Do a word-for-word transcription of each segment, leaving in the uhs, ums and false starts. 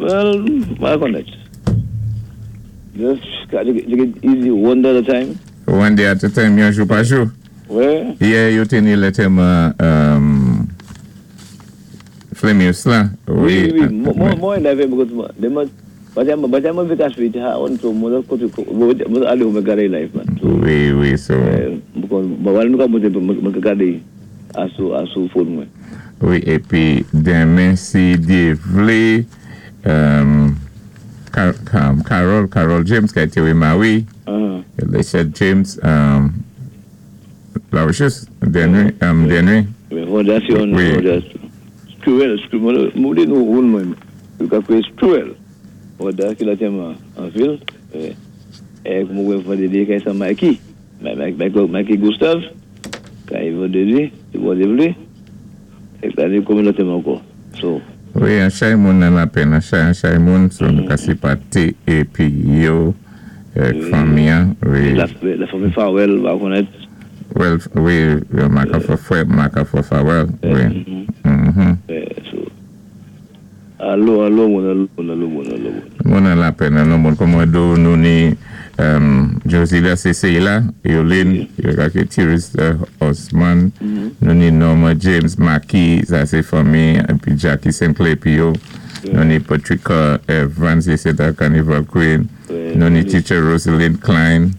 Well, m pa konnèt. Just take it easy one day at a time. One day at a time, yon jou pa jou. Wè. Yè, yo té ni lantèman um, Flemius la. Wi, wi. Mwen, mwen, lèvé, because mwen, but I'm, but I'm a vacation, ha, on so, mwen, mwen, alé mwen gadé live, man. So, Wi, wi, so. Mwen, mwen, mwen, mwen, mwen gadé asou, asou phone mwen. Wi, épi denmen, si Dye vlé, um, Car Car Carol, Carol James, ki té rémarye, Uh-huh. Elisha James, um, Larochus, Denry, um, Denry. Wi, fondasyon, Wi. Fondasyon. Squirrel, Squirrel, mwen di nou roun mwen, yo ka kwé Squirrel. Fonda ki lantèman an vil, é mwen wè vandédi kay sa Mikey, Mikey, Mikey Gustave, kay vandédi, si Bondye vlé, é la ni konbyen lantèman ankò. So, Wi, an chay moun nan lapenn, an chay, an chay moun, so nou ka sipòté, épi yo, euh, fanmi, an, wi. La, la fanmi Farwell, va konnèt. Well, wi, maka fò fwè, maka fò Farwell, wi. Mhm. So, alo, alo, moun, alo, moun, alo, moun, alo, moun. Moun nan lapenn, nan moun kòm do nou ni um, Josilia Cecilia, Yolene, yo ka ké Tiris uh, Osman, nou ni Norma James Maki, sa sé fanmi, épi Jackie Sinclair pi yo, nou ni Patricia Evans, sé ta Carnival Queen, nou ni Teacher Rosalind Klein,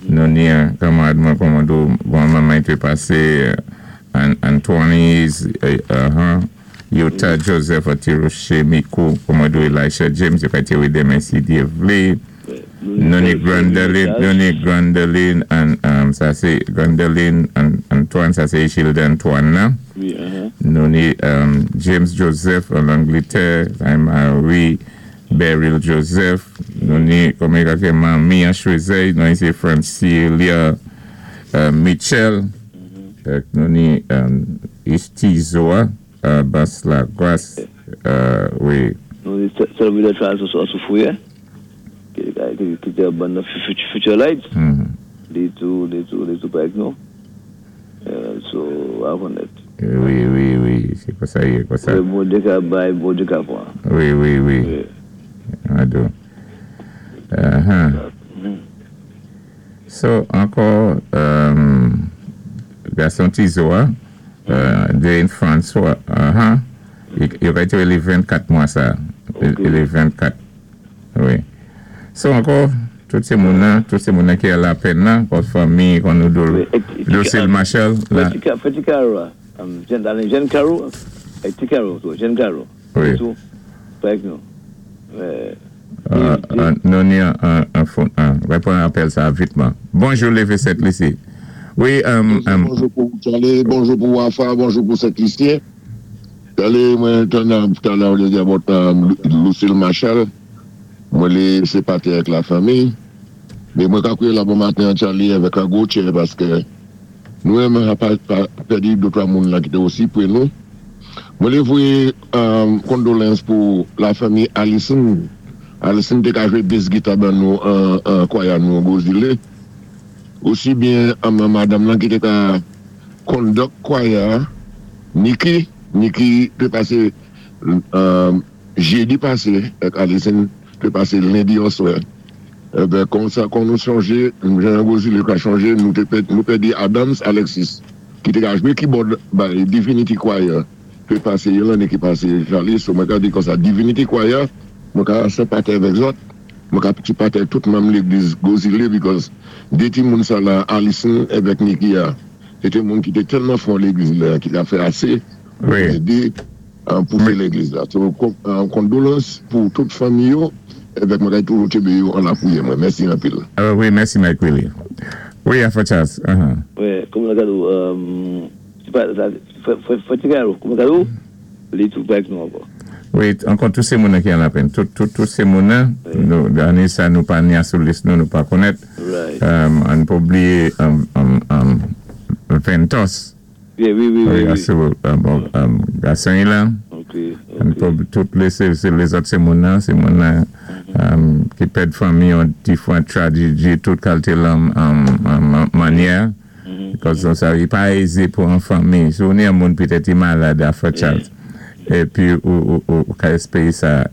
nou ni kamarad mwen kòm do, bon manman té pasé, uh, Antoine, uh, uh, Yota Joseph Atiroche Mikou, kòm do Elisha James, yo ka té wé denmen si Dye vlé, nou ni Grandeline, nou ni Grandeline, an, um, sa sé Grandeline an, Antoine, sa sé Gilda Antoine nan. Wi, uh-huh. Nou ni um, James Joseph an Angletè, Marie Beryl Joseph, nou ni, kòm yo ka manmi an Choisey, nou ni sé Francilia uh, Mitchell, mm-hmm. nou ni um, Ishtizoa, uh, Bas la Grasse, uh, wi. Nou ni Salvador Charles sou Fouye, ki té ban nan Future Light, li tou, li tou, li tou pa ek nou. So, a konnèt. Wi, wi, wi, sé kon sa yé, kon sa. Bondye ka bay, Bondye ka pwan. Wi, wi, wi. Ado. Uh-huh. So, ankò, um, gason Tizoa, uh, Dane François, uh-huh. Yo ka ité li vennkat mwa sa. Li vennkat. Wi. So, ankò, tout sé moun nan, tout sé moun nan ki a lapenn nan, kon fanmi, kon nou do Lucille Marshall. Feti Caro, Jen Caro, Ti Caro, Jen Caro. Wi. Tou, pa ek nou. Nou ni an fon, repon apèl sa vitman. Bonjou Leve Sent Lisi. Wi. Bonjou pou Charlie, bonjou pou Wafa, bonjou pou Sent Lisyen. Charlie, mwen tann talè ou lé di about Lucille Marshall. Mwen lé senpati avèk la fanmi. Mé mwen ka kwiyé la bon maten Charlie avèk la gwo tchè paské nou menm a pa pèdi de twa moun la ki té osi pwé nou. Mwen lé voyé kondoleyans pou la fanmi Allison. Allison té ka jwé bass guitar ban nou an kwaya nou Gozile. Osi byen madanm lan ki té ka conduct kwaya Niki, Niki té pasé jédi pasé ak Allison té pasé lendi oswè. Ében kon sa kon nou chonjé, jan Gozile ka chonjé, nou pèdi Adams Alexis ki té ka jwé keyboard bay Divinity Choir té pasé yon lanné ki pasé Charlie, so mwen ka di kon sa Divinity Choir, mwen ka senpati avèk zòt, mwen ka senpati tout manm légliz Gozile because dé ti moun sa la Allison avèk Niki a, sé té moun ki té tèlman fon légliz la, ki ka fè asé pou édé pousé légliz la. So, kondoleyans pou tout fanmi yo, avèk mwen kay toujou tjénbé yo an la pwiyè mwen. Mèsi anpil. Wi, mèsi Mike Willie. Wi, Afa Charles. Wi, kòm la gado, Foti Caro, kòm la gado, li tou pa ek nou ankò. Wi, ankò tout sé moun ki an lapenn. Tout sé moun ane sa nou pa ni asou lis nou, nou pa konnèt. An pou blié Ventos. Wi, wi, wi. Wi, asou gason ilan. An pou tout lézòt sé moun nan, sé moun nan ki pèd fanmi an difwan trajedi, tout kalité lan mannyè. Because sa yi pa ézé pou an fanmi. Sou ni an moun pitèt yi malad Afa Charles. Épi ou ka espéyé sa.